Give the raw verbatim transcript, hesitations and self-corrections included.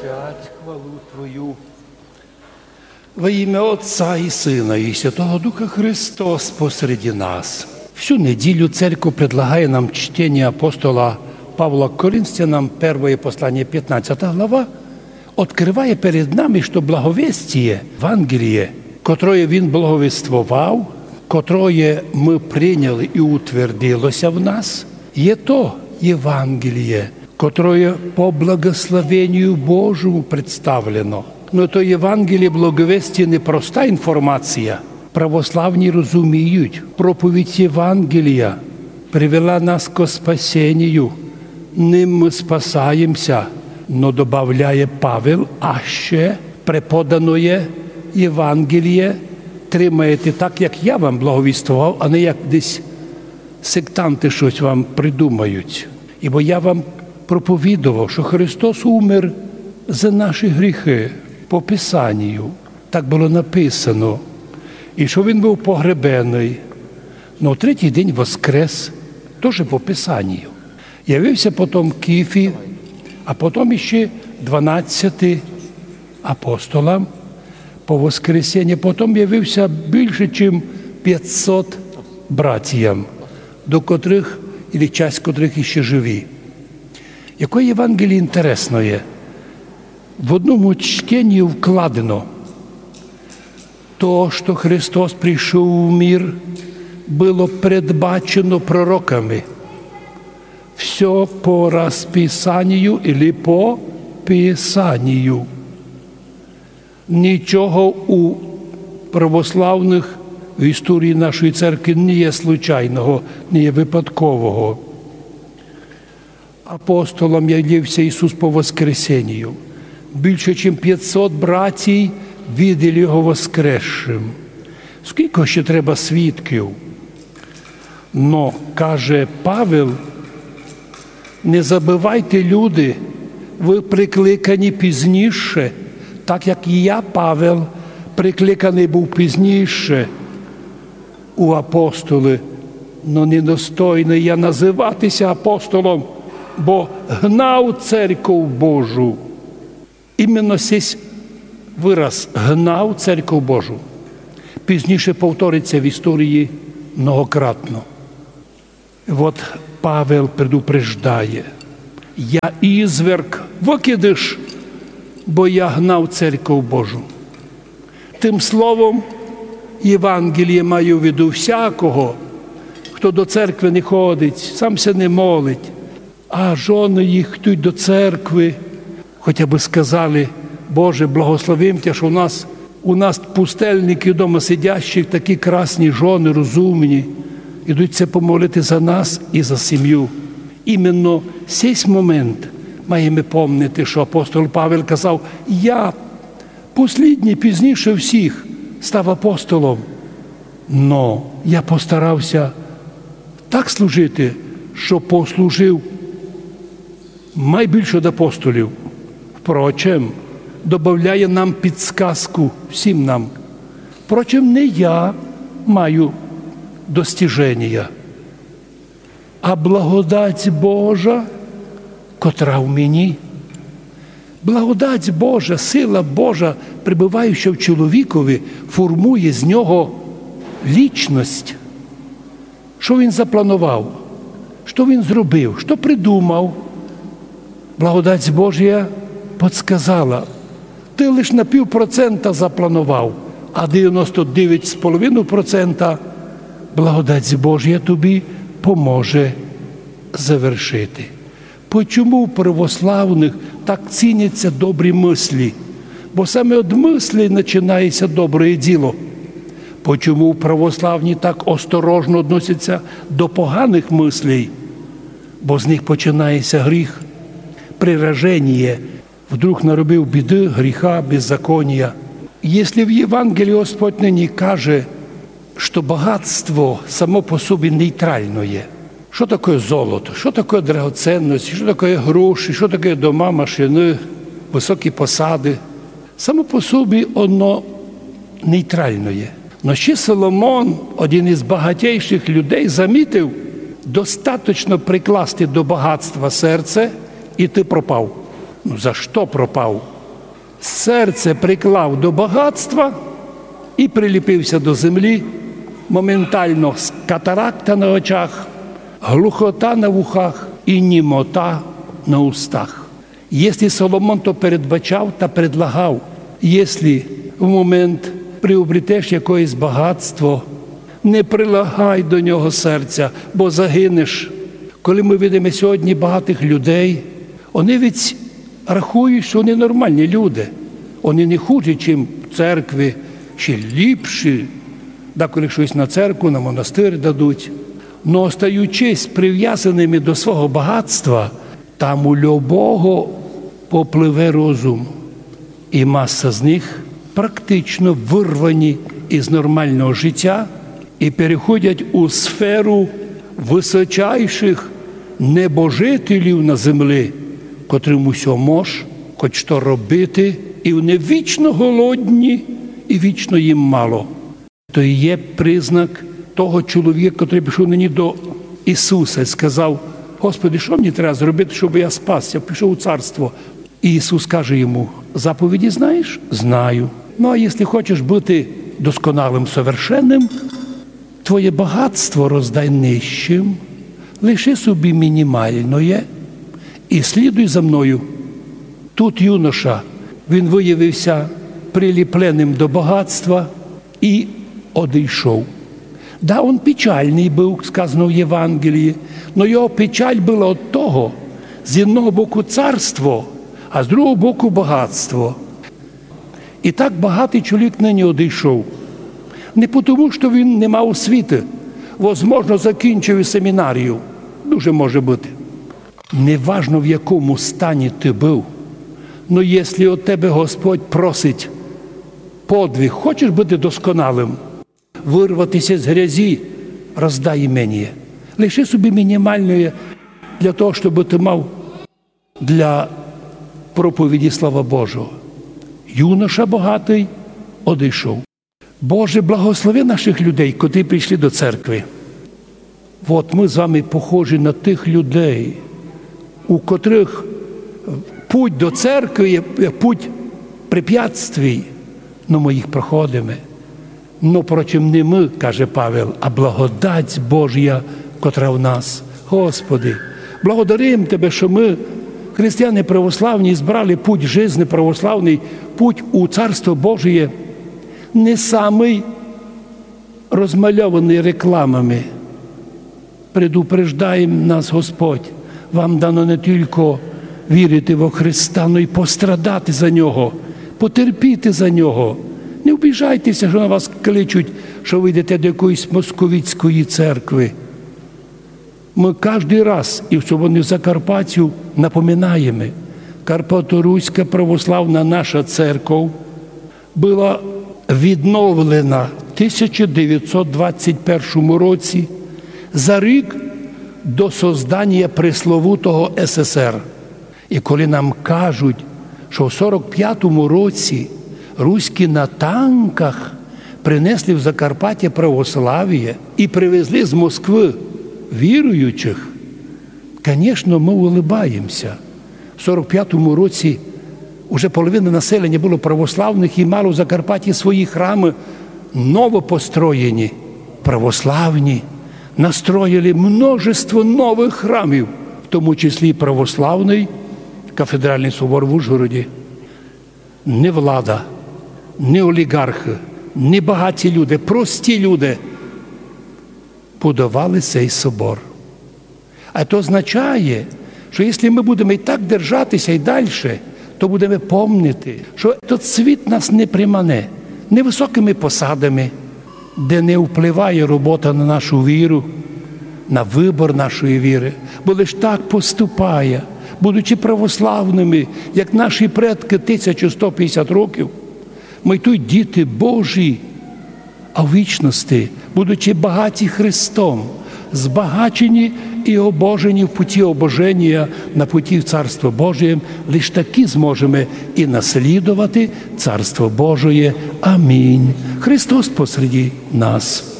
Являть хвалу Твою. Во имя Отца и Сына и Святого Духа Христос посреди нас. Всю неділю церква предлагає нам чтение апостола Павла к Коринфянам, первое послание, пятнадцатая глава, открыває перед нами, што благовестіє, Евангеліє, котрое він благовествовав, котрое мы прийняли и утвердилося в нас, є то Евангеліє, котрое по благословению Божому представлено. Но то Евангеліє благовестіє не проста інформація. Православні розуміють, проповідь Евангелія привела нас ко спасенію. Ним мы спасаємся, но добавляє Павел, а ще преподаноє Евангеліє тримаєте так, як я вам благовествовав, а не як десь сектанты штось вам придумають. Ибо я вам проповідовав, што Христос умер за наші гріхы по Писанію. Так было написано. И што він быв погребеный, но третій день воскрес, тоже по Писанію. Явився потом Кіфі, а потом іще дванадцяти апостолам по воскресенню. Потом явився більше, чим пятсот братіям, до котрых, или часть котрых іще живі. Якоє Євангеліє інтересноє. В одному чтенні вкладено то, што Христос прийшов в мир, было предбачено пророками. Всьо по розписанію или по Писанію. Нічого у православных в історії нашої церкви не є случайного, не є випадкового. Апостолам явився Ісус по воскресенію. Більше, чим пятсот братій виділи його воскресшим. Скілько ще треба свідків? Но, каже Павел, не забывайте, люди, вы прикликані пізніше, так як і я, Павел, прикликаный быв пізніше у апостолы, но недостойный я называти ся апостолом, бо гнав церков Божу. Именно сись вираз «гнав церков Божу» пізніше повторить ся в історії многократно. Вот Павел предупреждає: «Я изверг, выкидыш, бо я гнав церков Божу». Тым словом Євангеліє маю в виду всякого, хто до церкви не ходить, сам ся не молить, а жоны їх йдуть до церкви, хотя бы сказали: «Боже, благословим Тя, што у нас, у нас пустельників дома сидящих такі красні жоны, розумні, ідуть ся помолити за нас і за сім'ю». Именно сись момент маєме помнити, што апостол Павел казав: «Я послідній, пізніше всіх став апостолом, но я постарав ся так служити, што послужив май більше од апостолів». Впрочем, добавляє нам підсказку всім нам. Впрочем, не я маю достіженія, а благодать Божа, котра в мені. Благодать Божа, сила Божа, пребываюча в чоловікові, формує з нього лічность. Што він запланував? Што він зробив? Што придумав? Благодать Божа подсказала. Ты лиш на пів процента запланував, а девяносто девять з половиною процента благодать Божа тобі поможе завершити. Почому у православных так ціняться добрі мыслі? Бо саме од мыслей начинає ся добре діло. Почому православні так осторожно односяться до поганых мыслей? Бо з них починає ся гріх, прираженіє. Вдруг наробив біды, гріха, беззаконія. Если в Євангелії Господь нині каже, што богатство само по собі нейтралноє. Што такоє золото, што такоє драгоценності, што такоє гроші, што такоє дома, машины, высокі посады? Само по собі оно нейтралноє. Но ще Соломон, один із багатейших людей, замітив: достаточно прикласти до богатства серце, і ты пропав. Ну, за што пропав? Серце приклав до багатства і приліпив ся до землі. Моментално с-, катаракта на очах, глухота на вухах і німота на устах. Єсли Соломон то передбачав та предлагав, єсли в момент приобретеш якоєсь багатство, не прилагай до нього серця, бо загинеш. Коли мы видиме сьогодні багатых людей, они ведь рахують, што они нормалні люди. Они не хуже, чим в церкви, ще ліпші. Деколи штось на церкву, на монастир дадуть. Но остаючись привязаными до свого багатства, там у любого попливе розум. І маса з них практично вырвані із нормалного життя і переходять у сферу высочайшых небожителів на землі, котрым усьо мож, хоть што робити, і вони вічно голодні, і вічно їм мало. То і є признак того чоловіка, котрый пришов нині до Ісуса і сказав: «Господи, што мені треба зробити, щоб я спасся, пішов у царство?» І Ісус каже йому: «Заповіді знаєш?» «Знаю. Ну, а якщо хочеш бути досконалым, совершенным, твоє багатство роздай нищим, лиши собі мінімальноє і слідуй за мною». Тут юноша, він виявився приліпленым до багатства і одійшов. Да, он печальный быв, сказано в Євангелії, но його печаль была од того, з одного боку царство, а з другого боку багатство. І так багатый чоловік нині одійшов. Не потому, што він не мав освіты, возможно, закінчив і семінарію. Дуже може быти. Неважно, в якому стані ты быв, но якщо од тебе Господь просить подвиг, хочеш быти досконалым, вырвати ся з грязі, роздай іменіє. Лиши собі мінімальноє для того, щоб ты мав для проповіді слова Божого. Юноша богатый одійшов. Боже, благослови наших людей, котрі прийшли до церкви. От мы з вами похожі на тых людей, у котрых путь до церкви є, є путь препятствий, но мы їх проходиме. Но, впрочем, не мы, каже Павел, а благодать Божія, котра в нас. Господи, благодарим Тебе, што мы, християни православні, збрали путь жизни православный, путь у Царство Божіє, не самый розмальованый рекламами. Предупреждає нас Господь: вам дано не тілько вірити во Христа, но й пострадати за Нього, потерпіти за Нього. Не обіжайте ся, што на вас кличуть, што вы йдете до якоїсь московіцької церкви. Мы каждый раз, і особливо в Закарпаттю, напоминаєме: Карпаторуська православна наша церков была відновлена в тисяча девятьсот двадцять першому році, за рік до созданія пресловутого С С Р. І коли нам кажуть, што в сорок пятому році руські на танках принесли в Закарпаття православіє і привезли з Москвы віруючих, конечно, мы улыбаємся. В сорок пятому році уже половина населення было православных і мало в Закарпатті свої храмы новопостроєні. Православні настроїли множество новых храмів, в тому числі і православный кафедральный собор в Ужгороді. Не влада, не оліґархы, не багаті люди, прості люди будовали сей собор. А то означає, што якщо мы будеме і так держати ся і дальше, то будеме помнити, што тот світ нас не примане не высокыми посадами, де не впливає робота на нашу віру, на выбор нашої віры, бо лиш так поступає, будучи православными, як наші предкы тисячу сто пятдесят років, мы й туй діти Божі, а в вічности, будучи багаті Христом, збагачені і обожені в путі обоженія, на путі в Царство Божіє, лиш такі зможеме і наслідовати Царство Божоє. Амінь. Христос посреди нас.